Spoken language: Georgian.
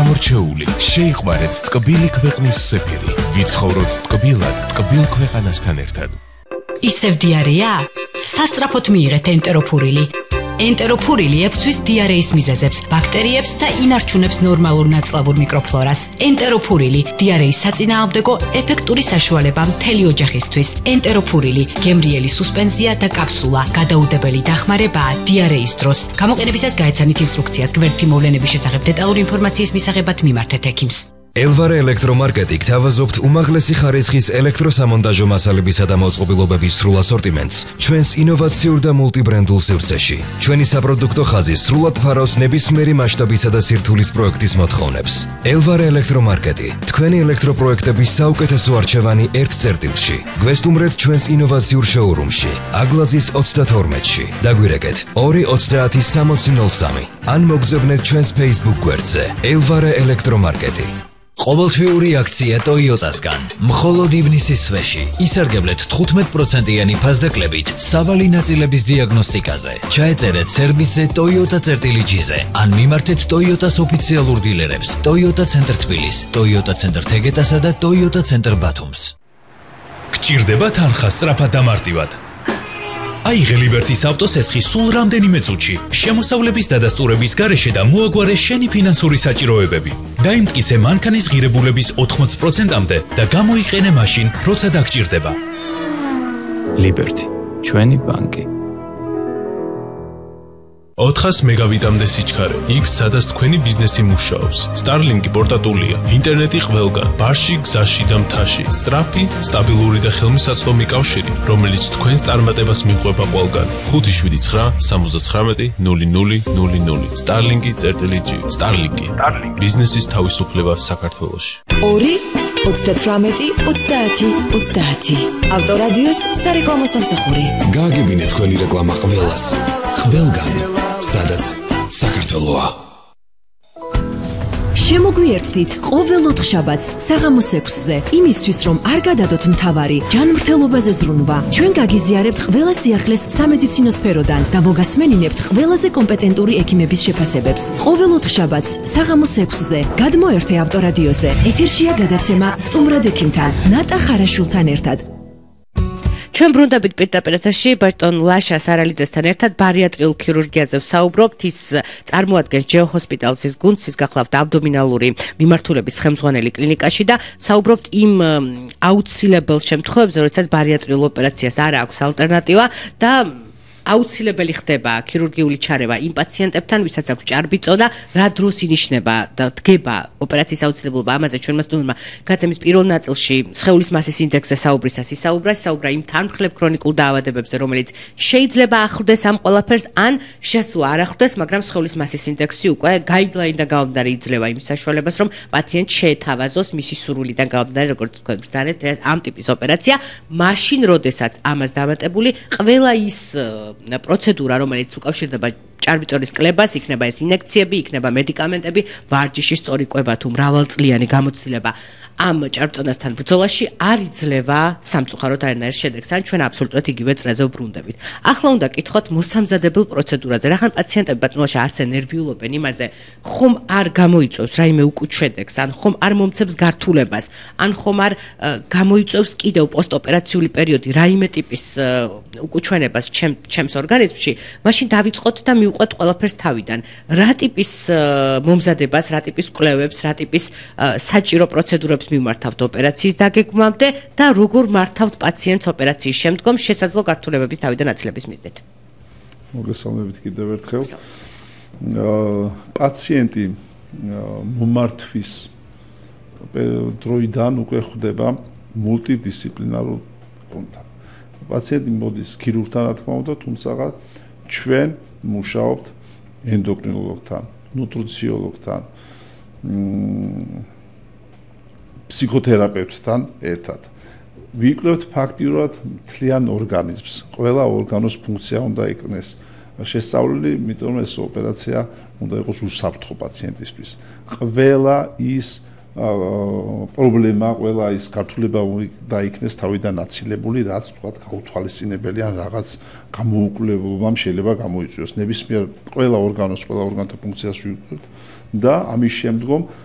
გამორჩეული, შეიყვარეთ ტკბილი ქვეყნის სეფირი. ვიცხოვროთ ტკბილად, ტკბილ ქვეყანასთან ერთად. ისევ დიარეა? სასწრაფოდ მიიღეთ ენტეროფურილი. ენტეროფურილი ებრძვის დიარეის მიზეზებს, ბაქტერიებს და ინარჩუნებს ნორმალურ ნაწლავურ მიკროფლორას. ენტეროფურილი დიარეის საწინააღმდეგო ეფექტური საშუალება მთელი ოჯახისთვის. ენტეროფურილი გემრიელი სუსპენზია და კაფსულა, გადაუდებელი დახმარებაა დიარეის დროს. გამოყენებისას გაეცანით ინსტრუქციას. გვერდითი მოვლენების შესახებ დეტალური ინფორმაციის მისაღებად მიმართეთ ექიმს. Elvare ელექტრომარკეტი გთავაზობთ უმაღლესი ხარისხის ელექტროსამონტაჟო მასალებისა და მოწყობილობების სრულ ასორტიმენტს ჩვენს ინოვაციურ და მულტიბრენდულ სივრცეში. ჩვენი საპროდუქტო ხაზი სრულად ფარავს ნებისმიერი მასშტაბისა და სირთულის პროექტის მოთხოვნებს. Elvare ელექტრომარკეტი თქვენი ელექტროპროექტების საუკეთესო არჩევანი ერთ წერტილში. გვესტუმრეთ ჩვენს ინოვაციურ შოურუმში, აგლაძის 32-ში. დაგვირეკეთ 230-6003 ან მოგზავნეთ ჩვენს Facebook გვერდზე Elvare ელექტრომარკეტი. ყოველთვიური აქცია Toyota-სგან. მხოლოდ ივნისის თვეში ისარგებლეთ 15%-იანი ფასდაკლებით სავალი ნაწილების დიაგნოსტიკაზე. ჩაეწერეთ სერვისზე Toyota-G-ზე ან მიმართეთ Toyota-s ოფიციალურ დილერებს Toyota ცენტრ თბილისს, Toyota ცენტრ თეგეტასა და Toyota ცენტრ ბათუმს. გჭირდება თანხა სწრაფად და მარტივად. აიღე ლიბერტის ავტოსესხი სულ რამდენიმე წუთში, შემოსავლების დადასტურების გარეშე და მოაგვარე შენი ფინანსური საჭიროებები. დაიმტკიცე მანქანის ღირებულების 80%-მდე და გამოიყენე მაშინ, როცა დაგჭირდება. ლიბერტი, ჩვენი ბანკი. 400 მეგავიტამდე სიჩქარე, იქ სადაც თქვენი ბიზნესი მუშაობს. Starlink-ი პორტატულია, ინტერნეტი ყველგან, ბარში, გზაში და მთაში. სწრაფი, სტაბილური და ხელმისაწვდომი კავშირი, რომელიც თქვენს წარმატებას მიყვება ყველგან. 579-79-0000 Starlink-G. Starlink-ი. ბიზნესის თავისუფლება საქართველოში. 2-18-30-30. ავტორადიოს სარეკლამო სამსახური. გააგებინეთ თქვენი რეკლამა ყველას. ყველგან, სადაც საქართველოა. შემოგვიერთდით ყოველ 4 შაბათს საღამოს 6-ზე, იმისთვის რომ არ გადადოთ მთავარი ჯანმრთელობაზე ზრუნვა. ჩვენ გაგიზიარებთ ყველა სიახლეს სამედიცინო სფეროდან და მოგასმენინებთ ყველაზე კომპეტენტური ექიმების შეფასებებს. ყოველ 4 შაბათს საღამოს 6-ზე გადმოერთე ავტორადიოზე. ეთერშია გადაცემა სტუმრად ექიმთან, ნატა ხარაშვილთან ერთად. ჩვენ ბრუნდებით პირდაპირ ეთერში ბატონ ლაშა სარალიძესთან ერთად ბარიატრიულ ქირურგიაზე ვსაუბრობთ. ის წარმოადგენს ჯეოჰოსპიტალსის გუნდს, ის გახლავთ აბდომინალური მიმართულების ხელმძღვანელი კლინიკაში და ვსაუბრობთ იმ აუცილებელ შემთხვევებზე, როდესაც ბარიატრიულ ოპერაციას არ აქვს ალტერნატივა და აუცილებელი ხდება ქირურგიული ჩარევა იმ პაციენტებთან, ვისაც აქვს ჭარბიწონა, რა დროს ინიშნება და დგება ოპერაციის აუცილებლობა. ამაზე ჩვენმა სტუმრმა გაცემის პირველ ნაწილში სხეულის მასის ინდექსზე საუბრისას ისაუბრა იმ თანმხლებ ქრონიკულ დაავადებებზე, რომელიც შეიძლება ახლდეს ამ ყველაფერს, ან შესაძლოა არ ახლდეს, მაგრამ სხეულის მასის ინდექსი უკვე გაიდლაინიდან გამომდინარე იძლევა იმ საშუალებას, რომ პაციენტ შეეთავაზოს მისი სურვილიდან გამომდინარე, როგორც თქვენ ბრძანეთ, ამ ტიპის ოპერაცია, მაშინ, როდესაც ამას დამატებული ყველა ის პროცედურა, რომელიც უკავშირდება ჭარბიწონის კლებას, იქნება ეს ინექციები, იქნება მედიკამენტები, ვარჯიში, სწორი კვება თუ მრავალწლიანი გამოცდილება ამ ჭარბწონასთან ბრძოლაში არ იძლევა სამწუხაროდ არანაირ შედეგს, ან ჩვენ აბსოლუტურად იგივე წრეზე ვბრუნდებით. ახლა უნდა კითხოთ მოსამზადებელ პროცედურაზე. რახან პაციენტები ბატონოშა ასე ნერვიულობენ იმაზე, ხომ არ გამოიწვევს რაიმე უკუთ შედეგს, ან ხომ არ მომცემს გართულებას, ან ხომ არ გამოიწვევს კიდევ პოსტოპერაციული პერიოდი რაიმე ტიპის უკუჩვენებას ჩემს ორგანიზმში, მაშინ დავიწყოთ და მივყვეთ ყველაფერს თავიდან. რა ტიპის მომზადებას, რა ტიპის კვლევებს, რა ტიპის საჭირო პროცედურებს მიმართავთ ოპერაციის დაგეგმვამდე და როგორ მართავთ პაციენტს ოპერაციის შემდგომ შესაძლო გართულებების თავიდან აცილების მიზნით. მოგესალმებით კიდევ ერთხელ. პაციენტი მომართვის დროიდან უკვე ხვდება მულტიდისციპლინარულ კონტაქტს. პაციენტი მოდის ქირურგთან, რა თქმა უნდა, თუმცა ჩვენ მუშაობთ ენდოკრინოლოგთან, ნუტრიციოლოგთან, ფსიქოთერაპევტთან ერთად. ვიკვლევთ ფაქტიურად მთლიან ორგანიზმს. ყველა ორგანოს ფუნქცია უნდა იქნეს შესწავლილი, იმიტომ რომ ეს ოპერაცია უნდა იყოს უსაფრთხო პაციენტისთვის. ყველა ის პრობლემა, ყველა ის გართულება დაიქნეს თავიდან აცილებული, რაც თქვა გაუთვალისწინებელი ან რაღაც გამოუკვლელობამ შეიძლება გამოიწვიოს. ნებისმიერ ყველა ორგანოს, ყველა ორგანოთა ფუნქციას ვიკვლევთ და ამის შემდგომ